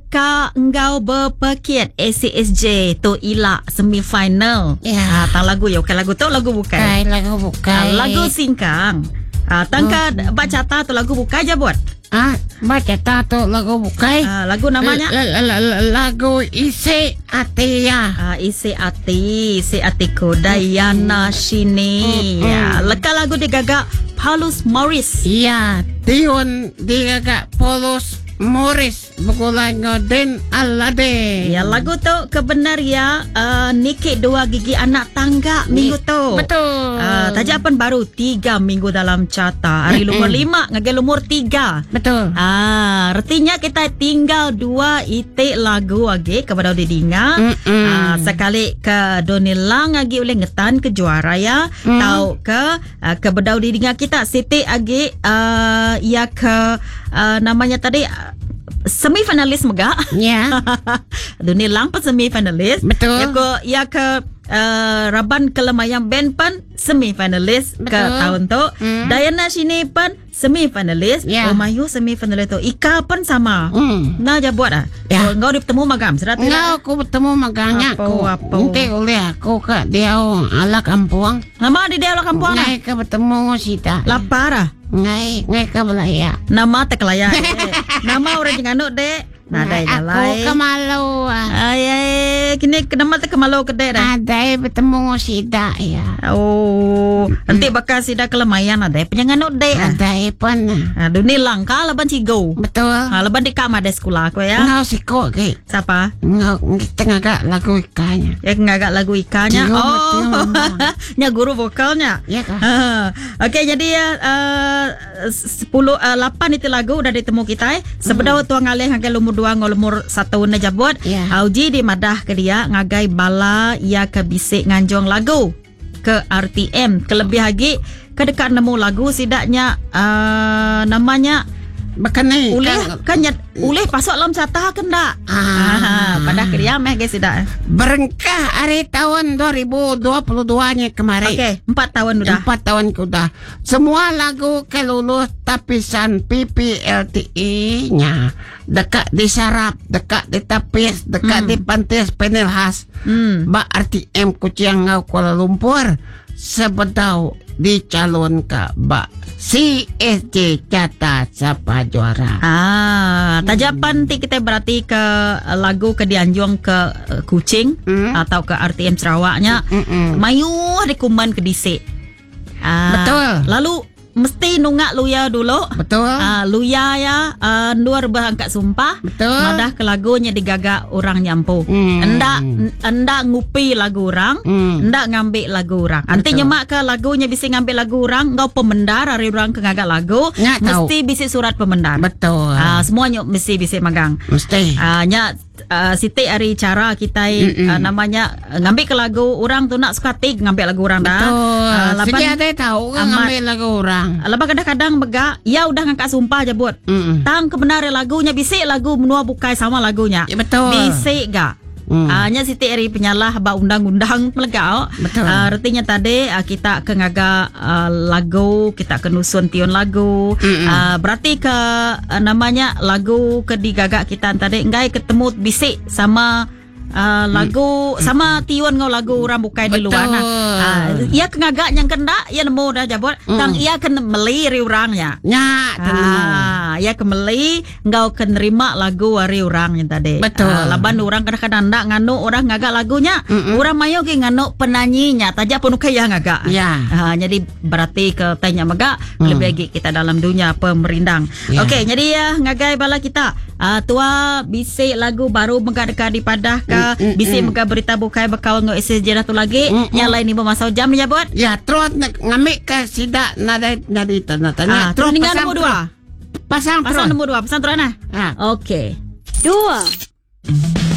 deka enggau bepekit ACSJ tu ila semi final. Ya. Ah, tang lagu ya bukan lagu tu lagu bukai. Bukai lagu bukai. Ah, lagu singkang. Ah, tang ka ba carta tu lagu bukai ja buat. Ah, ba carta tu lagu bukai. Ah, lagu namanya Lagu Isi Ati ya. Ah, isi ati, isi atiku Dayana Shini. Ya, leka lagu digaga Paulus Morris. Ya, tiun digaga Paulus Morris begulai enggau Den Alade. Ya, lagu tu kebenar ya uh, Niki dua gigi anak tangga minggu tu. Betul. Taja pan baru 3 minggu dalam carta. Hari lumur 5 ngagai lumur 3. Betul. Ah, retinya kita tinggal dua itik lagu agi ke bedau didinga. Ah, sekali ke Donny Lang agi ulih ngetan ke juara ya. Mm. Tau ke uh, ke bedau didinga kita siti agi uh, ya ke uh, namanya tadi uh, semi finalis mega. Ya. Donny Lang pun semi finalis. Betul. Ya ke ya ke uh, Raban Kelemayang Band pun semi finalis ke tahun tu. Dayana Shini pun semi finalis. Ya. Oh mayu semi finalis tu. Ika pun sama. Nah ja buat ah. Ya. Oh, ngau bertemu magam serat Ngau aku bertemu magangnya Apa, aku. apa. Nanti oleh aku ke dia ala kampung. Nama di dia ala kampung ah. Ngai ke bertemu sita. Lapar ah. Ngai ngai ke belaya. Nama terkelaya. eh. Nama orang jenganuk dek. Nadai Aku jalai. ke malu ah. Ai ai kini nama te kemalu ke dek dah. Adai bertemu sida ya. Oh, nanti bakal sida kelemayan ada penyanganuk dek. ah. Adai pun. Ah, dunia langka laban cigo. Betul. Ha, laban di kamar ada sekolah aku ya. Ngau siko ke. Siapa? Ngau kita ngagak lagu ikannya. Ya ngagak lagu ikannya. Cigo Oh, betul. nya guru vokalnya. Ya kah? Ha, Okey jadi ya uh, 10 uh, 8 itu lagu udah ditemu kita eh. Sebedau tuang ngalih ngagai lumur 2 ngau lumur 1 na jabut. Ya. Auji di madah ke dia ngagai bala ia ke bisik nganjung lagu ke RTM. Kelebih lagi ke dekat nemu lagu sidaknya uh, namanya Bekeni. ulih kan nyet ulih pasok dalam carta ke ndak? Ah. Ah, padah ke dia meh guys sidak. Berengkah hari tahun 2022 nya kemarin. Okey, 4 tahun udah. Empat tahun udah. Semua lagu kelulus tapisan PPLTI nya dekat disarap, dekat ditapis, dekat dipantis panel khas. Ba RTM Kuching ngau Kuala Lumpur sebedau dicalon ke ba CSJ Carta Sapa Juara. Ah, tajapan ti kita berarti ke lagu ke dianjung ke Kuching atau ke RTM Sarawaknya. Mayu dikuman ke disik. Ah, Betul. Lalu mesti nungak luya dulu. Betul. Ah, luya ya uh, nur berangkat sumpah. Betul. Madah ke lagunya digagak orang nyampu. Endak endak ngupi lagu orang, endak ngambil lagu orang. Anti nyemak ke lagunya bisa ngambil lagu orang, ngau pemendar hari orang ke ngagak lagu, Nyak tahu. mesti bisa surat pemendar. Betul. Ah, semuanya mesti bisa magang. Mesti. Ah, nya uh, Siti hari cara kita uh, namanya uh, ngambil ke lagu orang tu nak suka tik ngambil lagu orang dah. Betul. Ah, laban Segi ada tahu kan amat. ngambil lagu orang. Lepas kadang-kadang megak, ya udah ngangkat sumpah je buat. Tang kebenaran lagunya bisik lagu menua bukai sama lagunya. Ya, betul. Bisik gak. Ah, nya Siti ari penyalah ba undang-undang melegau. Betul. Ah, artinya tadi ah, kita ke ngaga ah, lagu, kita ke nusun tiun lagu. Ah, berarti ke ah, namanya lagu ke digagak kita tadi enggai ketemu bisik sama ah, lagu sama tiun ngau lagu orang bukai di luar nah. Betul. Ah, ia ke ngagak yang kena ia nemu dah jabut. Tang ia kena meli ri orangnya. Nyak tenang. Ah, ya kemeli engkau ke nerima lagu hari orang yang tadi. Betul. Ah, laban orang kadang-kadang ndak nganu orang ngagak lagunya. Orang mayo ke nganu penyanyinya taja pun kaya ngagak. Ya. Ah, jadi berarti ke tanya megak lebih lagi kita dalam dunia pemerindang. Ya. Okey, jadi ya ngagai bala kita. Ah, tua bisik lagu baru megak dekat di padah ke bisik megak berita bukai bekal ngau SSJ dah tu lagi. Yang lain ni bermasa jam ni buat. Ya, terus nak ngambil ke sidak nadai nadi tanda Ah, tanya. terus tinggal nombor dua. Pasang Pasang terus. nombor dua, pasang terus nah. Ah. Okey. 2.